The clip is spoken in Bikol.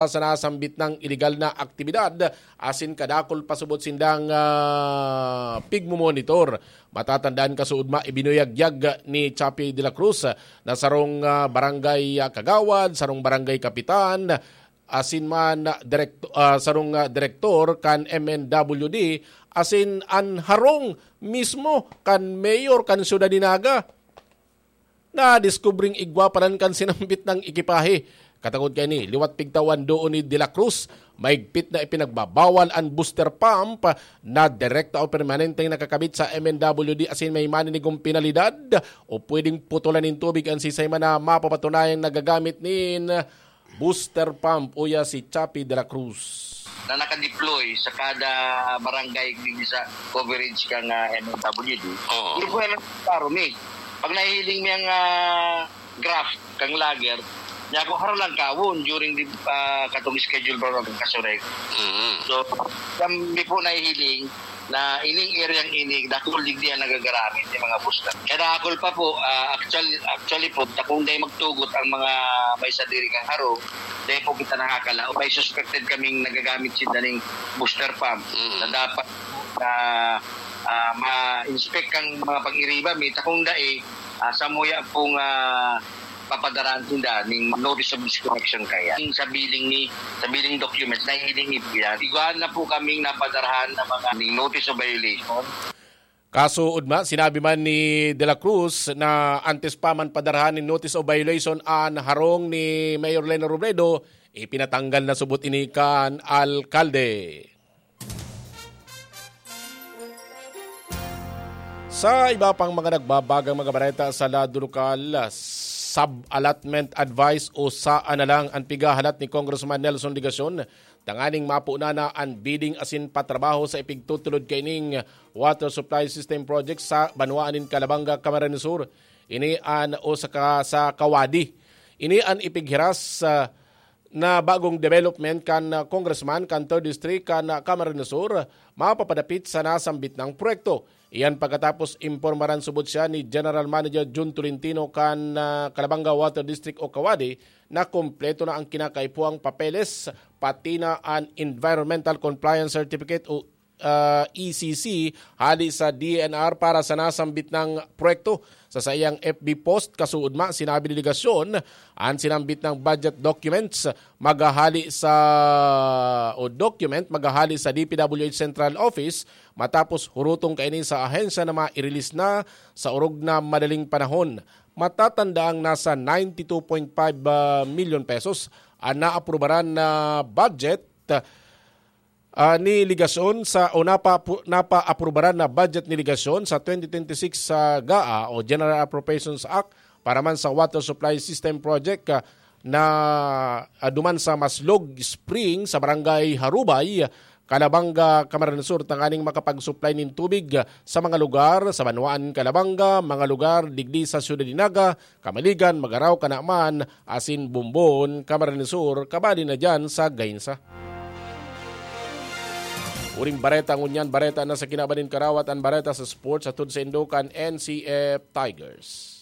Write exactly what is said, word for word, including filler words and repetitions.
sa nasambit nang iligal na aktibidad asin kadakul pasubot sindang, ah, pigmomonitor. Matatandaan, kasuodma, ibinuyagyag ni Chappie de la Cruz na sarong, ah, barangay, ah, kagawad, sarong barangay kapitan, asin man, ah, direkt-, ah, sarong, ah, direktor kan M N W D, asin an harong mismo kan mayor kan siyudad ni Naga. Nadiskubring igwa palan kan sinambit nang ekipahe. Katangod kaini, liwat pigtawan doon ni De La Cruz, maigpit na ipinagbabawal an booster pump na direkta o permanenteng nakakabit sa M N W D asin may maninigong penalidad o pwedeng putulan nin tubig an sisay man na mapapatunayang nagagamit nin booster pump, uya si Chappie de la Cruz. Na nakadeploy sa kada barangay digdi sa coverage kang, ah, M N W D. Oo. Hindi po yan ang klaro, mi. Pag nahihiling mi ang, ah, graph kang lager, niya ako harang lang kawon during the, ah, katong schedule program kasurek. Mm. So, kami po nahihiling na ining area ini, dakul digdi ang nagagaramit yung mga booster. Kaya dakul pa po, ah, actual-, actually po, takong day magtugot ang mga may sadiri kang harong, dahil po kita nakakalaog. May suspected kaming nagagamit sinda ning booster pump Mm. na dapat na, ah, ma-inspect kang mga pag-iriba, may takong dai, ah, samuya pong, ah, papadarahan sinda ning notice of disconnection kaya. Ning sa billing ni, sa billing documents, nahihiling iyan. Igwa na po kaming napadarahan ng mga ning notice of violation. Kaso, Udma, sinabi man ni De La Cruz na antes pa man padarahan nin notice of violation an harong ni Mayor Leno Robredo, ipinatanggal na subot ini kan alkalde. Sa iba pang mga nagbabagang mga bareta sa lado lokal, sub-allotment advice o saan na lang an pighahalat ni Congressman Nelson Legacion tanganing mapuna na an bidding asin patrabaho sa ipigtutulod kaining water supply system project sa banwaan nin Calabanga, Camarines Sur. Ini an o sa ka-, sa Kawadi. Ini an ipighiras, ah, na bagong development kan, ah, congressman kan third District kan, ah, Camarines Sur, mapapadapit sa nasambit nang proyekto. Iyan pagkatapos impormaran subot siya ni General Manager Jun Tolentino kan, ah, Calabanga Water District o Kawadi na kompleto na ang kinakaipuhang papeles, pati na an Environmental Compliance Certificate o, ah, E C C hali sa D E N R para sa nasambit nang proyekto. Sa saiyang F B post, kasuodma, sinabi ni Legacion, an sinambit nang budget documents maghahali sa, o document maghahali sa D P W H Central Office matapos hurutong kaini sa ahensya na mai-release na sa orog na madaling panahon. Matatandaang nasa ninety two point five, ah, milyon pesos an naaprubaran na budget, ah, ni Legacion sa, o napa-, napaaprubaran na budget ni Legacion sa twenty twenty-six sa GAA o General Appropriations Act para man sa Water Supply System Project, ah, na, ah, duman sa Maslog Spring sa Barangay Harubay, Calabanga, Camarines Sur, tanganing makapag-supply nin tubig, ah, sa mga lugar sa banwaan nin Calabanga, mga lugar digdi sa Siyudad nin Naga, Kamaligan, Magarao, Canaman, asin Bombon, Camarines Sur, kabali na diyan sa Gainza. Uring bareta ngunyan, bareta na sa kinaban nin karawat, an bareta sa sports, hatod saindo kan N C F Tigers.